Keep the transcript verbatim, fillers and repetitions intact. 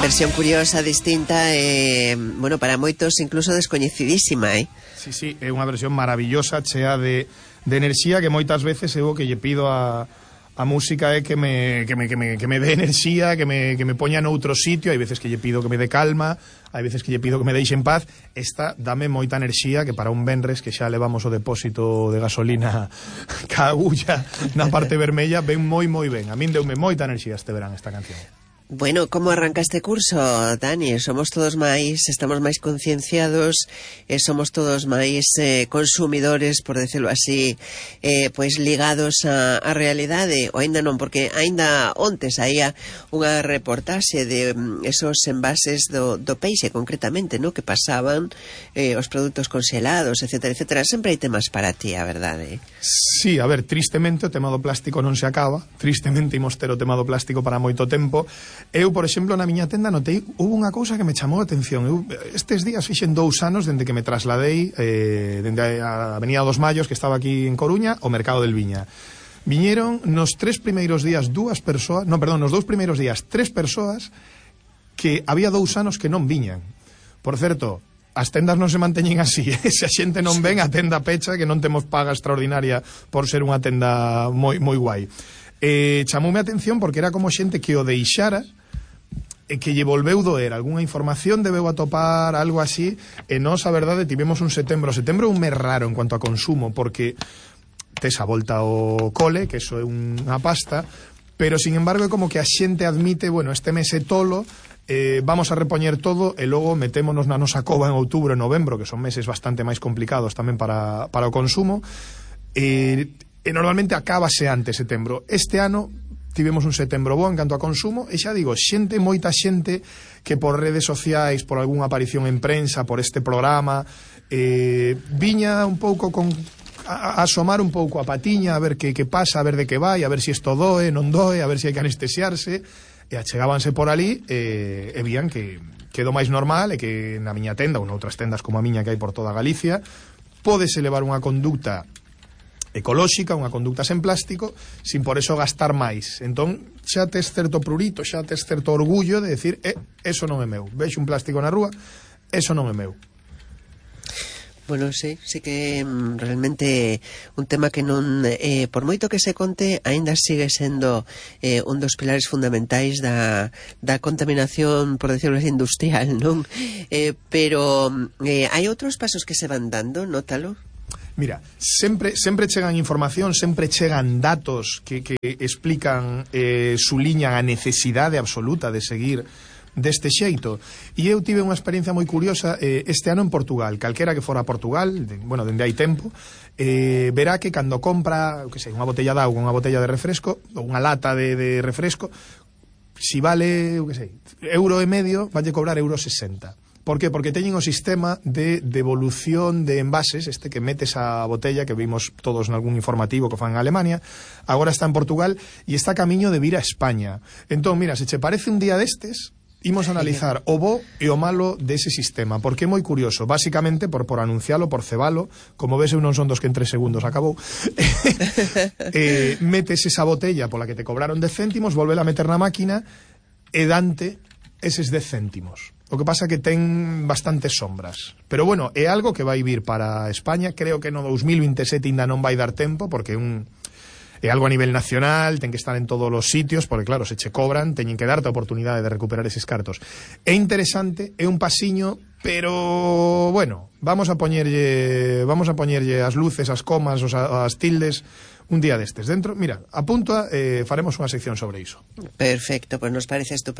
versión curiosa, distinta, eh, bueno, para moitos incluso descoñecidísima, eh? Sí, sí, é unha versión maravillosa, chea de, de enerxía, que moitas veces eu o que lle pido a, a música é que me, que me, que me, que me dé enerxía, que me, que me poña noutro sitio. Hai veces que lle pido que me dé calma, hai veces que lle pido que me deixe en paz. Esta dame moita enerxía, que para un venres que xa levamos o depósito de gasolina ca agulla na parte vermella, ven moi moi ben. A min deume moita enerxía este verán esta canción. Bueno, como arranca este curso, Dani? Somos todos máis, estamos máis concienciados, eh, somos todos máis eh, consumidores, por decirlo así, eh, pois ligados a, a realidade, ou aínda non, porque aínda onte saía unha reportaxe de um, esos envases do, do peixe, concretamente, no? Que pasaban eh, os produtos congelados, etcétera, etcétera. Sempre hai temas para ti, a verdade. Sí, a ver, tristemente o tema do plástico non se acaba, tristemente imos ter o tema do plástico para moito tempo. Eu, por exemplo, na miña tenda notei, hubo unha cousa que me chamou a atención. Eu, estes días fixen dous anos dende que me trasladei eh, dende a Avenida dos Mayos, que estaba aquí en Coruña, ao Mercado del Viña. Viñeron nos tres primeiros días dúas persoas, non, perdón, nos dous primeiros días tres persoas que había dous anos que non viñan. Por certo, as tendas non se manteñen así, eh? Se a xente non ven, a tenda pecha, que non temos paga extraordinaria por ser unha tenda moi, moi guai. Eh, chamoume a atención porque era como xente que o deixara e que lle volveu doer algunha información, debeu atopar algo así, e nós, a verdade, tivemos un setembro setembro un mes raro en cuanto a consumo, porque tes a volta ao cole, que eso é unha pasta, pero, sin embargo, é como que a xente admite, bueno, este mes é tolo, eh, vamos a repoñer todo, e logo metémonos na nosa cova en outubro e novembro, que son meses bastante máis complicados tamén para, para o consumo, e... E normalmente acábase antes setembro. Este ano tivemos un setembro bo en canto a consumo, e xa digo, xente, moita xente que por redes sociais, por algunha aparición en prensa, por este programa, eh, viña un pouco con a, a asomar un pouco a patiña, a ver que, que pasa, a ver de que vai, a ver se si isto doe, non doe, a ver se si hai que anestesiarse, e achegábanse por ali e, e vían que quedou máis normal, e que na miña tenda ou noutras tendas como a miña que hai por toda Galicia, pódese levar unha conducta ecolóxica, unha conducta sen plástico, sin por eso gastar máis. Entón, xa tes certo prurito, xa tes certo orgullo de decir, eh, eso non é meu. Vexo un plástico na rúa, eso non é meu. Bueno, sí, sí que mm, realmente un tema que non, eh, por moito que se conte, aínda sigue sendo eh, un dos pilares fundamentais da, da contaminación, por decirlo así, industrial, non? Eh, pero eh, hai outros pasos que se van dando, nótalo? Mira, sempre sempre chegan información, sempre chegan datos que, que explican eh, su liña a necesidade absoluta de seguir deste xeito. E eu tive unha experiencia moi curiosa eh, este ano en Portugal. Calquera que fora a Portugal, de, bueno, dende hai tempo, eh, verá que cando compra, que sei, unha botella de auga, unha botella de refresco, ou unha lata de, de refresco, si vale, eu que sei, euro e medio, valle cobrar euro sesenta. Por que? Porque teñen o sistema de devolución de envases, este que metes a botella, que vimos todos nalgún informativo que fan en Alemania, agora está en Portugal e está a camiño de vir a España. Entón, mira, se che parece un día destes, imos a analizar o bo e o malo dese sistema, porque é moi curioso, basicamente por, por anuncialo, por cebalo, como ves eu non son dos que en tres segundos acabou, eh, metes esa botella pola que te cobraron dez céntimos, volvela a meter na máquina e dante eses dez céntimos. O que pasa que ten bastantes sombras. Pero bueno, é algo que vai vir para España. Creo que no dous mil vinte e sete ainda non vai dar tempo, porque un, é algo a nivel nacional, ten que estar en todos os sitios, porque claro, se che cobran, teñen que darte a oportunidade de recuperar eses cartos. É interesante, é un pasiño, pero bueno, vamos a poñerlle, vamos a poñerlle as luces, as comas, os, as tildes un día destes. Dentro, mira, apunta, eh, faremos unha sección sobre iso. Perfecto, pues nos parece estupendo.